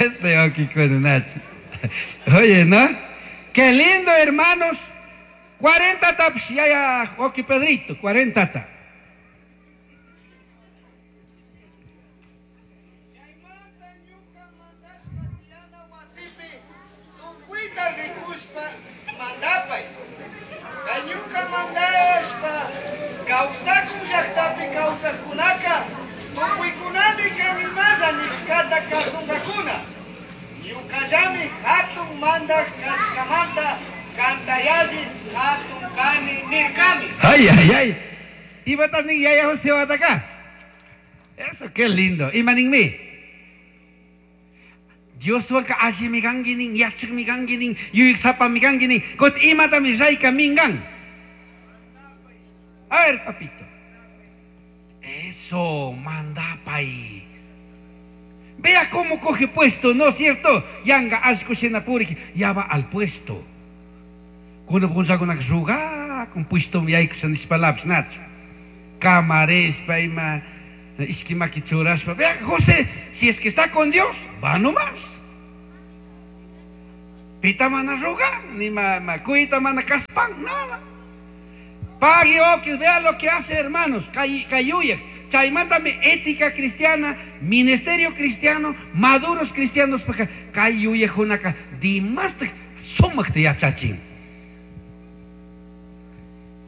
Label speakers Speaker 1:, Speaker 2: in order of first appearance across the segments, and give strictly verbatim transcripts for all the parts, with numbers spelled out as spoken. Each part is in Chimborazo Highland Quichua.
Speaker 1: Este oki con Nacho. Oye, ¿no? Qué lindo, hermanos. cuarenta taps, ya, ya, oki Pedrito, cuarenta ta.
Speaker 2: Chaymanta ñuka mandashpa tiyana wasipi tukuyta rikushpa mandapay. Chay ñuka mandashpa kawsakun llaktapi kawsakkunaka tukuykunami kan imalla nishkata kasunkakuna. Ñukallami hatun mandak kashkamanta kanta yalli hatun kani nirkami.
Speaker 1: Ay, ay, ay. Iba ni yaya José acá. Eso, qué lindo. Imaninmi. Dios waka alli miganguinin, yachik miganguinin, yuyik sapa miganguinin, kot imatami rayka mingan. A ver, papito. Eso, mandapay. Vea cómo coge puesto, ¿no es cierto? Yanga ashkushena puriki, ya va al puesto. Kuno punchakuna ruga, con puesto yaykusha nishpalapis nacho. Camarespa ima ishkimaki churashpa. Vea, José, si es que está con Dios, va nomás. Pita mana ruga, ni ma, ma cuita mana kaspan, nada. Pague okis, vea lo que hace, hermanos, kay, kayuya. Chaymantami ética cristiana, ministerio cristiano, maduros cristianos, porque kayuya junaka, dimastaq sumaqta yachachin.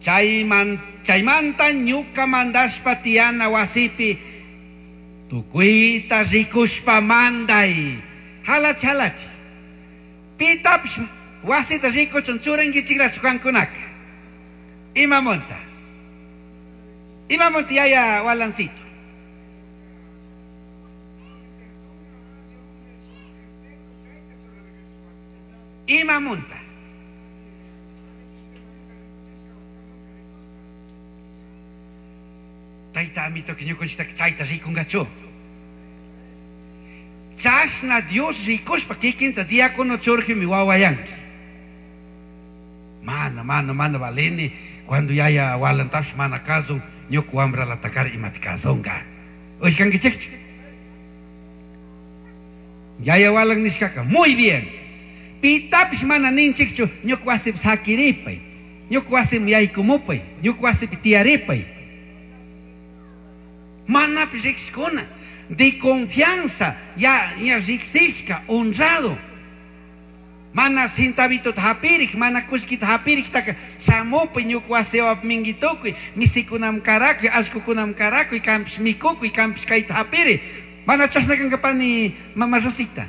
Speaker 1: Chayman, chaymanta ñuka mandashpa tiyana wasipi, tukuyta rikushpa manday. Halach, halach. Pitapish wasita rikuchun churankichikrachu kankunaka. Imamonta. Imamonta yaya walancito. Imamonta. Tayta amito que ñukanchikta chayta rikunkachu. Chashna Dios rikushpa kikinta diácono churjimi wawayanki. Mana, mana, mana valeni cuando yaya walantash mana kasun ñuka wamra latakar imata kasunka. Ushkankichikchu. Yaya walan nishkaka muy bien. Pitapish mana ninchikchu ñuka wasipi sakiripay. Ñuka wasipi yaykumupay. Ñuka wasipi tiyaripay. Manapish riqshikuna de confianza, ya, ya riqsishka, honrado. Mana cintabito hapirik, mana kushkita hapirik, taka shamupi ñuka wasiwap minguitukuy, misikunam karakuy, ashkukunam karakuy, kampish mikukuy, kampish kayta hapiri. Mana chashna kankapani mama Rosita.